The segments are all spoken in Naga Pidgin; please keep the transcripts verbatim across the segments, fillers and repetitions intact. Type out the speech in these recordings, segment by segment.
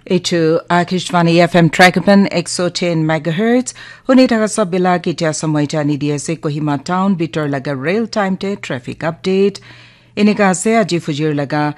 Etu Akashvani F M Trakapan ek so ten megahertz. Huni thaka sab bila kitia samoi jani di ase Kohima town bitor laga real time te traffic update. Inika ase aji fujir laga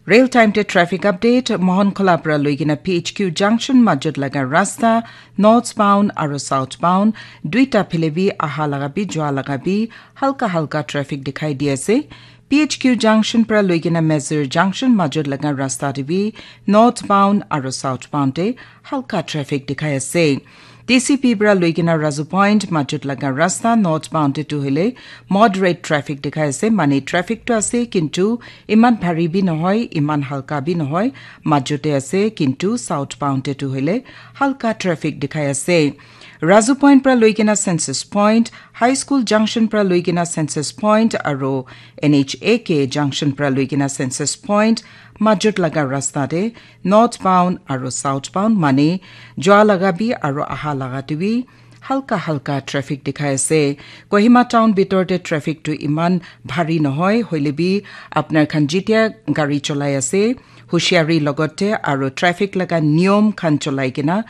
real time te traffic update. Mohon Khola pra loigina P H Q junction majut laga rasta northbound aro southbound duita phile bi aha laga bi jua laga bi halka halka traffic dikhai di ase. P H Q junction pra loigina Mezur junction majut laga rasta te bi northbound aro southbound te halka traffic dikhai ase. T C P pra loigina Razu Point majut laga rasta northbound te tu hoile moderate traffic dikhai ase, mane traffic tu ase kintu iman bhari bi nohoi, iman halka bi nohoi, majute ase kintu southbound te tu hoile halka traffic dikhai ase. Razu Point pra loigina Census Point, High School Junction pra loigina Census Point aro N H A K Junction pra loigina Census Point majut laga rasta te northbound aro southbound mane jua laga bi aro aha laga te bi halka halka traffic dikhai ase. Kohima town bitor te traffic tu iman bhari nohoi, hoile bi apnar khan jitia gari cholai ase, hushiari logote aro traffic laga niyom khan cholai kena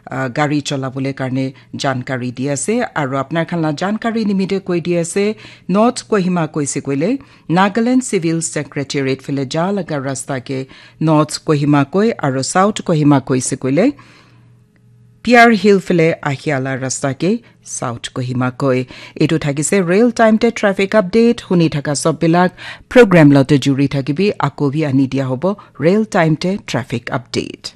uh, gari cholabole karne jankari di ase aro apnar khan la jankari nimite koi di ase North Kohima koise koile Nagaland Civil Secretariat phale ja laga rasta ke North Kohima koi aro South Kohima koise koile P R Hill phale ahia la rasta ke South Kohima koi. Etu thakise real time te traffic update. Huni thaka sob bilak program lote juri thakibi, ako bi ani dia hobo real time te traffic update.